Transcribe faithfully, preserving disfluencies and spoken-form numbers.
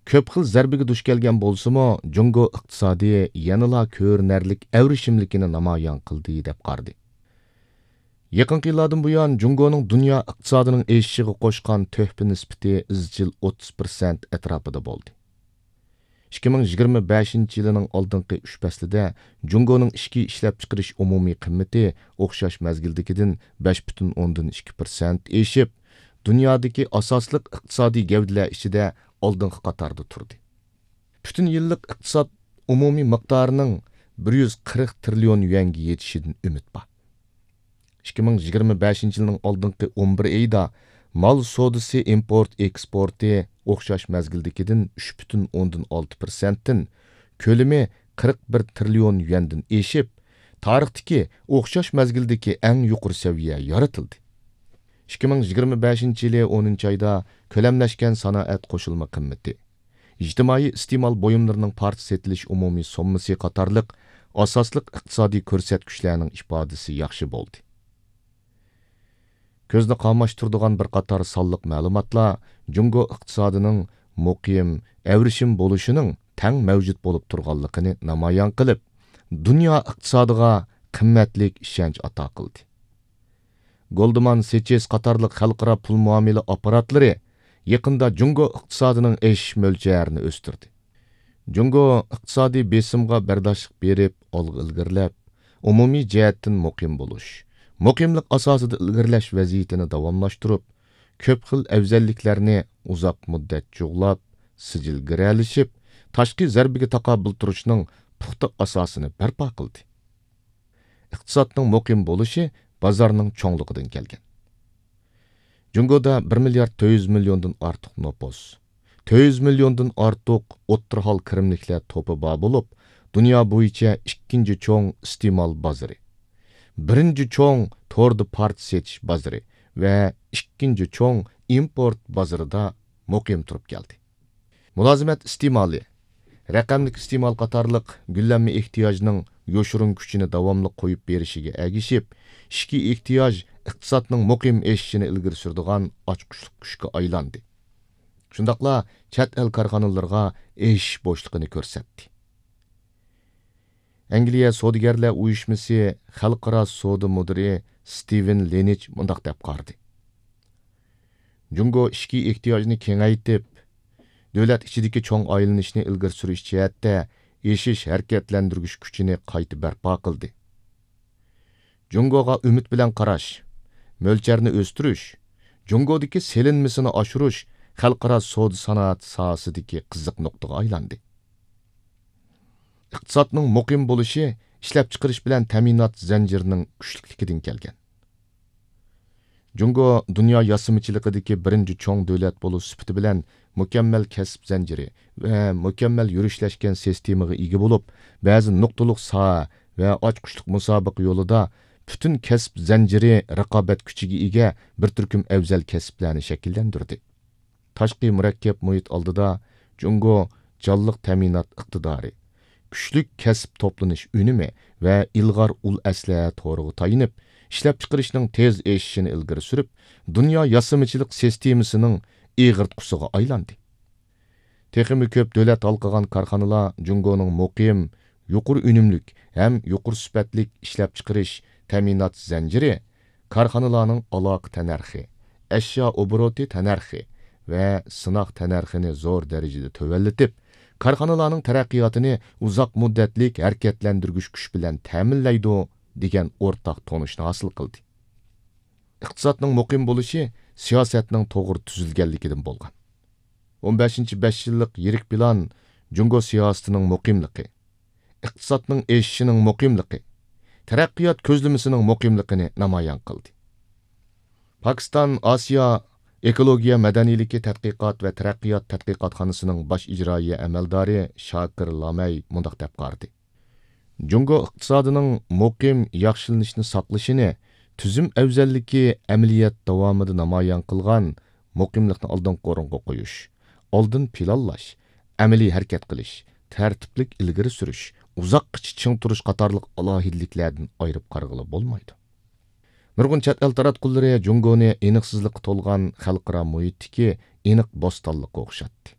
كۆپ خىل زەربىگە دۇچ كەلگەن بولسىمۇ، جۇڭگو ئىقتىسادى يەنىلا كۆرۈنەرلىك ئەۋرىشىملىكىنى نامايان قىلدى، دەپ قارىدى. يېقىنقى يىللاردىن بۇيان، جۇڭگونىڭ دۇنيا ئىقتىسادىنىڭ ئېشىشىغا قوشقان تۆھپە نىسبىتى ئىزچىل ئوتتۇز پىرسەنت ئەتراپىدا بولدى. ئىككى مىڭ يىگىرمە بەشىنچى يىلىنىڭ ئالدىنقى ئۈچ پەسلىدە جۇڭگونىڭ ئىچكى ئىشلەپچىقىرىش ئومۇمىي قىممىتى ئوخشاش مەزگىلدىكىدىن بەش پۈتۈن ئوندىن ئىككى پىرسەنت ئېشىپ، دۇنيادىكى ئاساسلىق ئىقتىسادىي گەۋدىلەر ئىچىدە ئالدىنقى قاتاردا تۇردى. پۈتۈن يىللىق ئىقتىساد ئومۇمىي مىقدارىنىڭ بىر يۈز قىرىق تىرىليون يۈەنگە يېتىشىدىن ئۈمىد بار. ئىككى مىڭ يىگىرمە بەشىنچى يىلنىڭ ئالدىنقى ئون بىر ئېيىدا مال سودىسى ئىمپورت ئېكسپورتى ئوخشاش مەزگىلدىكىدىن ئۈچ پۈتۈن ئوندىن ئالتە پىرسەنتتىن، كۆلىمى قىرىق بىر تىرىليون يۈەندىن ئېشىپ، تارىختىكى ئوخشاش مەزگىلدىكى ئەڭ يۇقىرى سەۋىيە يارىتىلدى. ئىككى مىڭ يىگىرمە بەشىنچى يىلى ئونىنچى ئايدا كۆلەملەشكەن سانائەت قوشۇلما قىممىتى، ئىجتىمائىي ئىستېمال بۇيۇملىرىنىڭ پارچە سېتىلىش ئومۇمىي سوممىسى قاتارلىق ئاساسلىق ئىقتىسادىي كۆرسەتكۈچلەرنىڭ ئىپادىسى ياخشى بولدى. كۆزنى قاماشتۇرىدىغان بىر قاتار سانلىق مەلۇماتلار جۇڭگو ئىقتىسادىنىڭ مۇقىم، ئەۋرىشىم بولۇشىنىڭ تەڭ مەۋجۇت بولۇپ تۇرغانلىقىنى نامايان قىلىپ، دۇنيا ئىقتىسادىغا قىممەتلىك ئىشەنچ ئاتا قىلدى. گولدمان سېچېس قاتارلىق خەلقئارا پۇل مۇئامىلە ئاپپاراتلىرى يېقىندا جۇڭگو ئىقتىسادىنىڭ ئېشىش مۆلچەرىنى ئۆستۈردى. جۇڭگو ئىقتىسادىي بېسىمغا بەرداشلىق بېرىپ، ئالغا ئىلگىرىلەپ، ئومۇمىي جەھەتتىن مۇقىم بولۇش، مۇقىملىق ئاساسىدا ئىلگىرىلەش ۋەزىيىتىنى داۋاملاشتۇرۇپ، كۆپ خىل ئەۋزەللىكلەرنى ئۇزاق مۇددەت جۇغلاپ، سىجىل گىرەلىشىپ، تاشقى زەربىگە تاقابىل تۇرۇشنىڭ پۇختا ئاساسىنى بەرپا قىلدى. ئىقتىسادنىڭ مۇقىم بولۇشى بازارنىڭ چوڭلۇقىدىن كەلگەن. جۇڭگودا بىر مىليارد تۆت يۈز مىليوندىن ئارتۇق نوپۇس، تۆت يۈز مىليوندىن ئارتۇق ئوتتۇرا ھال كىرىملىكلەر توپى بار بولۇپ، دۇنيا بويىچە ئىككىنچى چوڭ ئىستېمال بازىرى، بىرىنچى چوڭ توردا پارچە سېتىش بازىرى ۋە ئىككىنچى چوڭ ئىمپورت بازىرىدا مۇقىم تۇرۇپ كەلدى. مۇلازىمەت ئىستېمالى، رەقەملىك ئىستېمال قاتارلىق گۈللەنمە ئېھتىياجنىڭ يوشۇرۇن كۈچىنى داۋاملىق قويۇپ بېرىشىگە ئەگىشىپ، ئىچكى ئېھتىياج ئىقتىسادنىڭ مۇقىم ئېشىشىنى ئىلگىرى سۈرىدىغان ئاچقۇچلۇق كۈچكە ئايلاندى. شۇنداقلا چەت ئەل كارخانىلىرىغا ئېشىش بوشلۇقىنى كۆرسەتتى. ئەنگلىيە سودىگەرلەر ئۇيۇشمىسى خەلقئارا سودا مۇدىرى ستىۋېن لېنىچ مۇنداق دەپ قارىدى: جۇڭگو ئىچكى ئېھتىياجنى كېڭەيتىپ، دۆلەت ئىچىدىكى چوڭ ئايلىنىشنى ئىلگىرى سۈرۈش جەھەتتە ئېشىش ھەرىكەتلەندۈرگۈچ كۈچىنى قايتا بەرپا قىلدى. جۇڭگوغا ئۈمىد بىلەن قاراش، مۆلچەرنى ئۆستۈرۈش، جۇڭگودىكى سېلىنمىسىنى ئاشۇرۇش خەلقئارا سودا سانائەت ساھەسىدىكى قىزىق نۇقتىغا ئايلاندى. ئىقتىسادنىڭ مۇقىم بولۇشى ئىشلەپچىقىرىش بىلەن تەمىنات زەنجىرىنىڭ كۈچلۈكلۈكىدىن كەلگەن. جۇڭگو دۇنيا ياسىمىچىلىقىدىكى بىرىنچى چوڭ دۆلەت بولۇش سۈپىتى بىلەن مۇكەممەل كەسىپ زەنجىرى ۋە مۇكەممەل يۈرۈشلەشكەن سىستېمىغا ئىگە بولۇپ، بەزى نۇقتىلىق ساھە ۋە ئاچقۇچلۇق مۇسابىقە يولىدا پۈتۈن كەسىپ زەنجىرى رىقابەت كۈچىگە ئىگە بىر تۈركۈم ئەۋزەل كەسىپلەرنى شەكىللەندۈردى. تاشقى مۇرەككەپ مۇھىت ئالدىدا جۇڭگو جانلىق تەمىنات ئىقتىدارى، كۈچلۈك كەسىپ توپلىنىش ئۈنۈمى ۋە ئىلغار ئۇل ئەسلىھە تورىغا تايىنىپ، ئىشلەپچىقىرىشنىڭ تېز ئېشىشىنى ئىلگىرى سۈرۈپ، دۇنيا ياسىمىچىلىق سىستېمىسىنىڭ ئېغىرتقۇسىغا ئايلاندى. تېخىمۇ كۆپ دۆلەت ھالقىغان كارخانىلار جۇڭگونىڭ مۇقىم، يۇقىرى ئۈنۈملۈك ھەم يۇقىرى سۈپەتلىك ئىشلەپچىقىرىش تەمىنات زەنجىرى، كارخانىلارنىڭ ئالاقە تەننەرخى، ئەشيا ئوبوروتى تەننەرخى ۋە سىناق تەننەرخىنى زور دەرىجىدە تۆۋەنلىتىپ، كارخانىلارنىڭ تەرەققىياتىنى ئۇزاق مۇددەتلىك ھەرىكەتلەندۈرگۈچ كۈچ بىلەن تەمىنلەيدۇ، دېگەن ئورتاق تونۇشنى ھاسىل قىلدى. ئىقتىسادنىڭ مۇقىم بولۇشى سىياسەتنىڭ توغرا تۈزۈلگەنلىكىدىن بولغان. ئون بەشىنچى بەش يىللىق يىرىك پىلان جۇڭگو سىياسىتىنىڭ مۇقىملىقى، ئىقتىسادنىڭ ئېشىشىنىڭ مۇقىملىقى، تەرەققىيات كۆزلىمىسىنىڭ مۇقىملىقىنى نامايان قىلدى. پاكىستان ئاسىيا ئېكولوگىيە مەدەنىيلىكى تەتقىقات ۋە تەرەققىيات تەتقىقاتخانىسىنىڭ باش ئىجرائىيە ئەمەلدارى شاكىر لامەي مۇنداق دەپ قارىدى: جۇڭگو ئىقتىسادىنىڭ مۇقىم ياخشىلىنىشنى ساقلىشىنى تۈزۈم ئەۋزەللىكى ئەمەلىيەت داۋامىدا نامايان قىلغان مۇقىملىقنى ئالدىنقى ئورۇنغا قويۇش، ئالدىن پىلانلاش، ئەمەلىي ھەرىكەت قىلىش، تەرتىپلىك ئىلگىرى سۈرۈش، ئۇزاققىچە چىڭ تۇرۇش قاتارلىق ئالاھىدىلىكلەردىن ئايرىپ قارىغىلى بولمايدۇ. نۇرغۇن چەت ئەل تاراتقۇلىرى جۇڭگونى ئېنىقسىزلىققا تولغان خەلقئارا مۇھىتتىكى ئېنىق بوستانلىققا ئوخشاتتى.